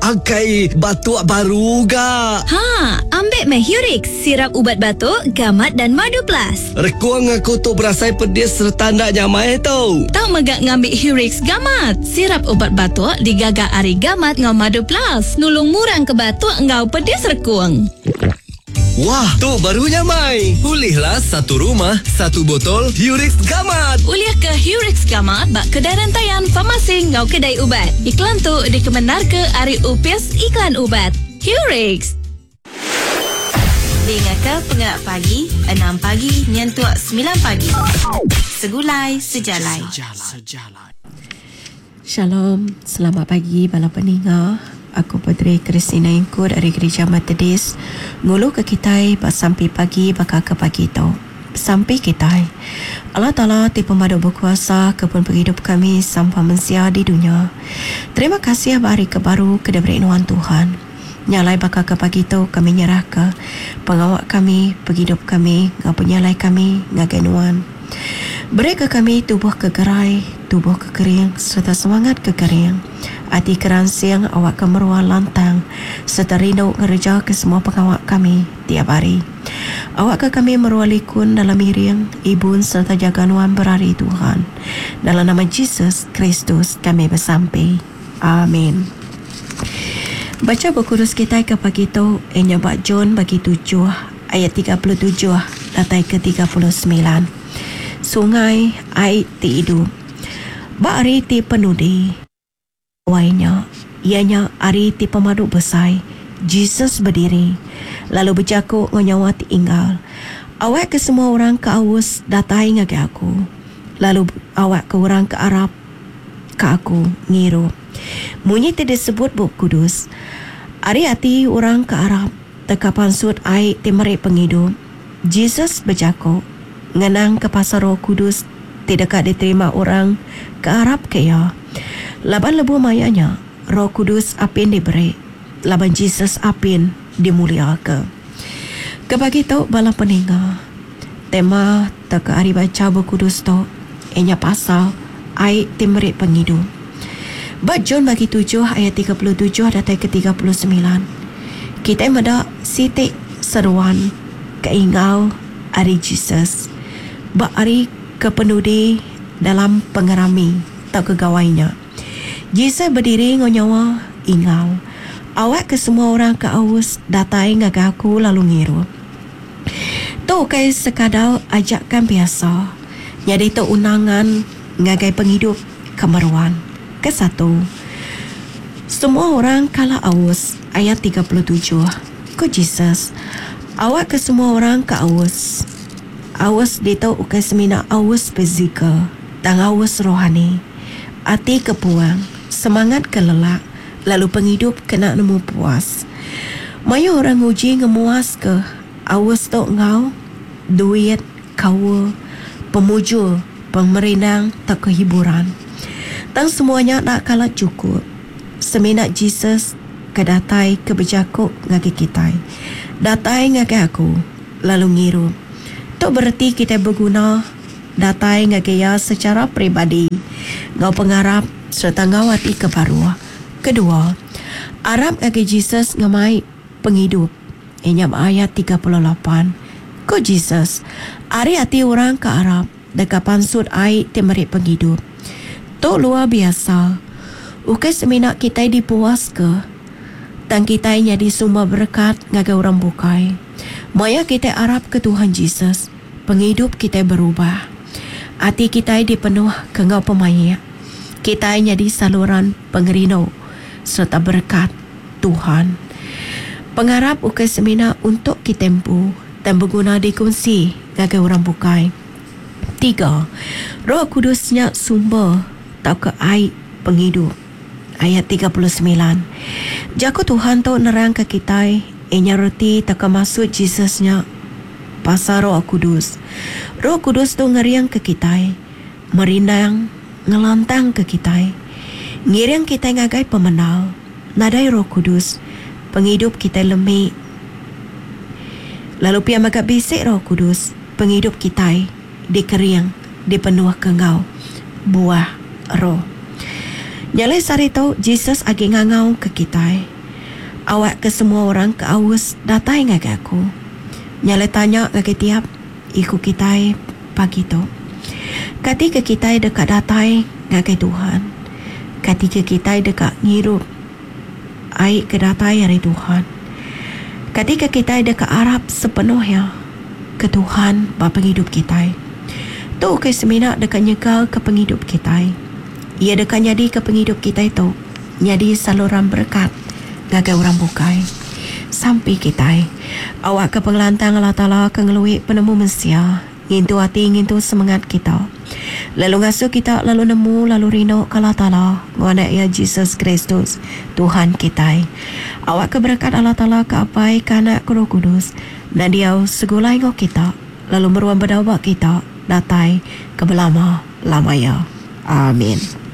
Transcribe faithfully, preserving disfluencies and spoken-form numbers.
Akai, batuk baru ga. Ha, ambil meh Hurix, sirap ubat batuk, gamat dan madu plus. Rekung aku tu berasai pedis serta ndak nyamai tu. Tau megak ngambil Hurix gamat. Sirap ubat batuk digaga ari gamat ngau madu plus. Nulung murang ke batuk ngau pedis rekung. Wah, tu baru nyamai. Pulihlah satu rumah, satu botol Hurix Gamat. Ulih ke Hurix Gamat bak kedai rentayan farmasi ngau kedai ubat. Iklan tu dikemenar ke ari Upis Iklan Ubat. Hurix. Dengar ke Pengerak Pagi, enam pagi nyentuk sembilan pagi. Segulai sejalai. Sejalai. Shalom, selamat pagi bala peninga. Aku Padri Christina Ingkur dari Gereja Methodist. Ngulu ke kitai bak sampi pagi bakal ke pagi tu. Sampi kitai. Allah Ta'ala ti pemadu berkuasa ke pun penghidup kami sampai mensia di dunia. Terima kasih hari ke baru ke diberi nuan Tuhan. Nyalai bakal ke pagi tu kami nyerah ke pengawak kami, penghidup kami, ngau penyalai kami ngagai nuan. Beri ke kami tubuh ke gerai, tubuh ke kering serta semangat ke kering. Ati keransing awak ke meruan lantang serta rindu ngereja ke semua pengawak kami tiap hari. Awak ke kami meruan likun dalam iring, ibun serta jaga nuan berari Tuhan. Dalam nama Jesus Kristus kami bersampi. Amin. Baca buku kudus kita ke pagi tu, ianya bak John bagi tujuh, ayat tiga puluh tujuh datai ke tiga puluh sembilan. Sungai air ti hidup. Bak hari ti penudi. Wainya, ianya hari ti pemadu besar. Jesus berdiri, lalu berjakuk nyawa ti inggal. Awak ke semua orang ke aus datai ngagai aku. Lalu awak ke orang ke Arab ke aku ngirup. Munyi ti disebut Bup Kudus. Ari ati orang ke Arab teka pansut air ti meri penghidup. Jesus berjakuk ngenang ke pasal Roh Kudus ti dekat diterima orang ke Arab ke ia. Laban lebu mayanya Roh Kudus apin diberi. Laban Jesus apin dimuliakan. Kebagi tu bala peninga. Tema teka hari baca Bup Kudus tu ianya pasal air ti meri penghidup. Bab John bagi tujuh ayat tiga puluh tujuh datai ke tiga puluh sembilan. Kita meda sitik seruan keingau ari Jesus. Bab hari kepenudi dalam pengerami atau kegawainya. Jesus berdiri ngonyawa ingau. Awak ke semua orang ke aus datai ngagai aku lalu ngirup. Tu kai sekadar ajakan biasa. Jadi tu undangan ngagai penghidup kemeruan. Kesatu, semua orang kala aus. Ayat tiga puluh tujuh. Ko Jesus, awak ke semua orang ke aus. Aus ditu ukai semina aus fizikal, tang aus rohani. Ati ke puang, semangat ke lelak, lalu penghidup kena nemu puas. Mayu orang nguji ngemuas ke aus tu ngau duit, kawa, pemujur, pemerindang, tak kehiburan. Tang semuanya nak kalah cukup. Semina Jesus ke datai ke berjakuk ngagai kita. Datai ngagai aku, lalu ngirup. Tu berarti kita berguna datai ngagai ia secara peribadi. Ngau pengarap serta ngau hati ke baru. Kedua, Arab ngagai Jesus ngemai penghidup. Inya ayat tiga puluh lapan. Ko Jesus, ari hati orang ke Arab dekat pansut air ti meri penghidup. Tu luar biasa. Ukai semina kita dipuas ke, tang kita jadi sumber berkat ngagai orang bukai. Maya kita Arab ke Tuhan Jesus, penghidup kita berubah. Hati kita dipenuh ke ngau pemayak. Kita jadi saluran pengerino serta berkat Tuhan. Pengarap ukai semina untuk kita empu dan berguna dikongsi ngagai orang bukai. Tiga, Roh Kudusnya sumber tau ke air penghidup. Ayat tiga puluh sembilan. Jaku Tuhan tu nerang ke kita, inya reti tak ke maksud Jesusnya pasal Roh Kudus. Roh Kudus tu ngeriang ke kita, merindang, ngelantang ke kita, ngiring kita ngagai pemenal. Nadai Roh Kudus, penghidup kita lemik. Lalu pia maka bisik Roh Kudus, penghidup kita dikeriang, dipenuh ke ngau buah roh. Nyalai sehari tu Jesus agi ngangau ke kitai. Awak ke semua orang ke aus datai ngagai aku. Nyalai tanya ngagai tiap iku kitai pagi tu. Kati ke kitai deka datai ngagai Tuhan? Kati ke kitai deka ngirup ai ke datai ari Tuhan? Kati ke kitai deka arap sepenuhnya ke Tuhan ba penghidup kitai? Tu ke semina deka nyegal ke penghidup kitai. Ia deka nyadi ke penghidup kitai tu nyadi saluran berkat ngagai orang bukai. Sampi kitai. Awak ke pengelantang Allah Taala ke ngelui penemu mensia, ngintu hati ngintu semangat kita. Lalu ngasuh kita lalu nemu lalu rindu ke Allah Taala ngau anak ia Jesus Kristus Tuhan kitai. Awak ke berkat Allah Taala ke Apai ke Anak ke Roh Kudus dan diau segulai ngau kita lalu meruan berdawa kita datai ke belama lama ya. Amin.